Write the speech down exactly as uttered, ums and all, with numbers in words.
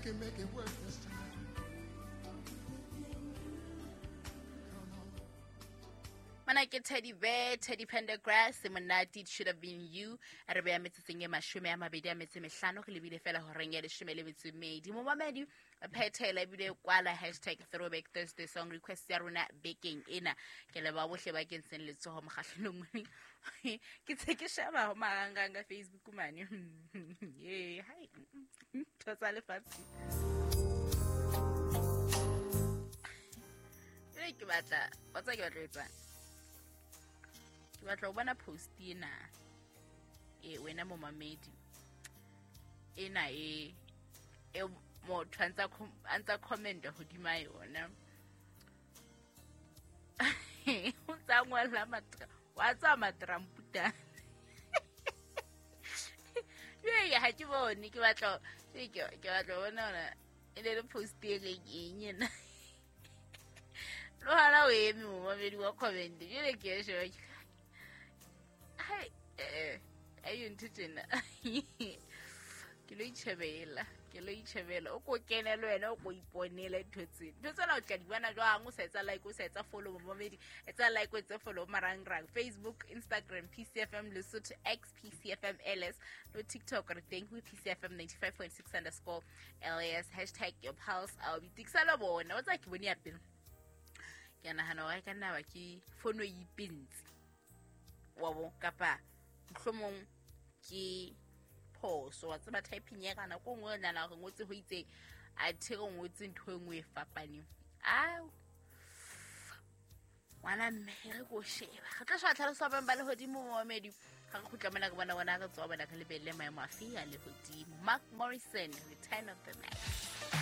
can make it work this time. Mana ke Teddy Bear, Teddy Pendergrass, Monate, It Should Have Been You. A re beya metsotsong e mashome a mabedi a metso e mehlano, re lebile fela horeng ya leshome le metso e mmedi. Momamedi, phethela ebile kwala hashtag Throwback Thursday song request ya rona bekeng ena. Ke leboha bohle ba kentseng letsoho mokgahlelong mone. Ke tse ke sheba ho marangrang a Facebook mane. Ee, hai, ntho tsa lefatshe. Jwale ke batla, wa tseba ke batla ho etsang? Ke batla ho bona post ena. E wena momamedi. Ena e e motho a ntsa com-, a ntsa comment hodima yona. O ntsa ngola matra, wa tsa matramputane. Jwale ha ke bone, ke batla, ke, ke batla ho bona hore e le le post e reng eng ena. Le hona o eme momamedi wa comment. Jwale ke e sheba ke hai, eh, ayo ntho tjena. Ke lo itjhebela, ke lo itjhebela. O ko kene le wena, o ko iponele ntho tsena. Ntho tsena o tla di bona jwang? O sa etsa like, o sa etsa follow momamedi. Etsa like, o etse follow marangrang. Facebook, Instagram, P C F M Lesotho, X P C F M L S, le TikTok re teng ho P C F M ninety-five point six underscore L S, hashtag your pulse. I'll be tiksa le bona. O tsa ke bone ya pele. Ke a nahana hore e ka nna ba ke fono e ipentse. Wa bo, kapa mohlomong ke phoso. Wa tseba typing ya ka nako e nngwe o nahana hore ngotse ho itseng, athe re ngotse ntho e nngwe e fapaneng. Ao, ngwana mme, re ko sheba. Re tla sheba tlhaloso ya boemo ba lehodimo momamedi. Ha re kgutla mona re bona bona re tswa bona re lebelle maemo afe a lehodimo. Mark Morrison, Return of the Mac.